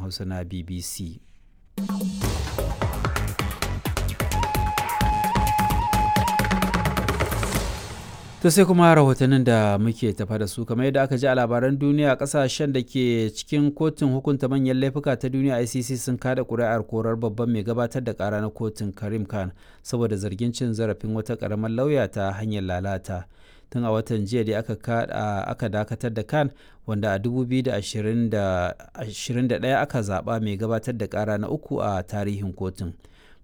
Hausa na BBC. To sai kuma rahotannin da muke tafa da su. Kamar yadda aka ji a labaran duniya, kasashen da ke cikin kotun hukunta manyan laifuka ta duniya ICC sun kada kuri'ar korar babban mai gabatar da kara na kotun Karim Khan saboda zargin cin zarafin wata karamar lauya ta hanyar lalata. Tun a watan jiya da aka dakatar da Khan, wanda a 2021 aka zaba mai gabatar da kara na uku a tarihin kotun.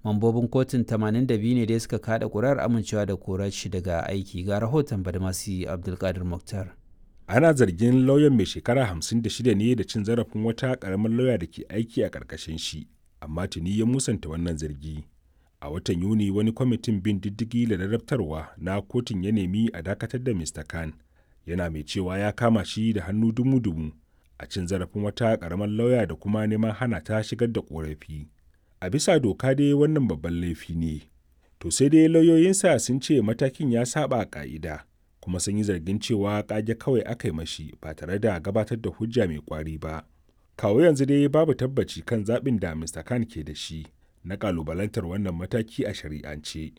Mambobin kotun 82 ne dai suka kada kurar amincewa da korar shi daga aiki. Ga rahoton Badmasi Abdulkadir Muktar. Ana zargin lauyan mai shekara 56 ne da cin zarafin wata karamar lauya da ke aiki a karkashin shi, amma tuni ya musanta wannan zargi. A watan Yuni wani kwamitin bin diddigi da ladabtarwa na kotun ya nemi a dakatar da Mr. Khan, yana mai cewa ya kama shi da hannu dumu-dumu a cin zarafin wata karamar lauya da kuma neman hana ta shigar da korafi. A bisa doka dai wannan babban laifi ne. To sai dai lauyoyinsa sun ce matakin ya saba ka'ida, kuma sun yi zargin cewa kage kawai aka yi mashi ba tare da gabatar da hujja mai kwari ba. Kawo yanzu dai babu tabbaci kan zaɓin da Mr. Khan ke da shi na kalubalantar wannan mataki a shari'ance.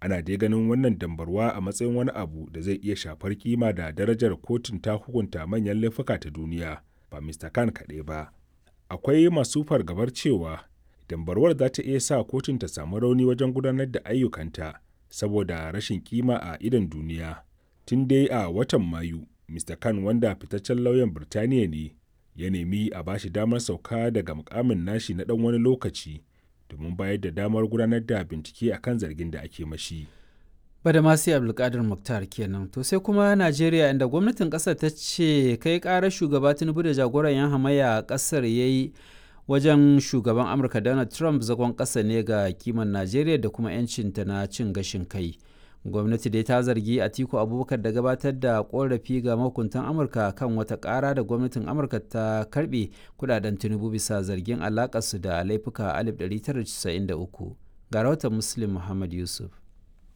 Ana dai ganin wannan dambarwa a matsayin wani abu da zai iya shafar kima da darajar kotun ta hukunta manyan laifuka ta duniya, ba Mr. Khan kaɗai ba. Akwai masu fargabar cewa dambarwar za ta iya sa kotun ta samu rauni wajen gudanar da ayyukanta saboda rashin kima a idon duniya. Tun dai a watan Mayu, Mr. Khan, wanda fitaccen lauyan Birtaniya ne, ya nemi a bashi damar sauka daga mukamin nashi na dan wani lokaci domin bayar da damar gudanar da bincike akan zargin da ake mashi. Badamasi Abdulkadir Muktar kenan. To sai kuma Najeriya, inda gwamnatin kasar ta ce kai karar shugaba Tinubu da jagoran yan hamayya a kasar ya yi wajen shugaban Amurka Donald Trump zagon ƙasa ne ga kiman Najeriya da kuma 'yancinta na cin gashin kai. Gwamnati dai ta zargi Atiku Abubakar da gabatar da korafi ga mahukuntan Amurka kan wata ƙara da gwamnatin Amurka ta karbe kudaden Tinubu bisa zargin alakarsu da laifuka 1993. Ga rahoton Muslim Muhammad Yusuf.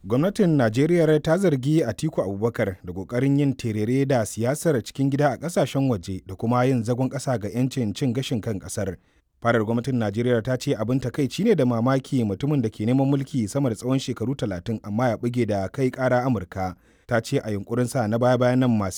Gwamnatin Najeriya ta zargi Atiku Abubakar da kokarin yin terere da siyasar cikin gida a kasashen waje da kuma yin zagon ƙasa ga 'yancin cin gashin kan ƙasar. Farar gwamnatin Najeriya ta ce abin takaici ne da mamaki mutumin da ke neman mulki sama da tsawon shekaru 30 amma ya buge da kai kara Amurka. Ta ce a yunkurin sa na baya bayan nan masu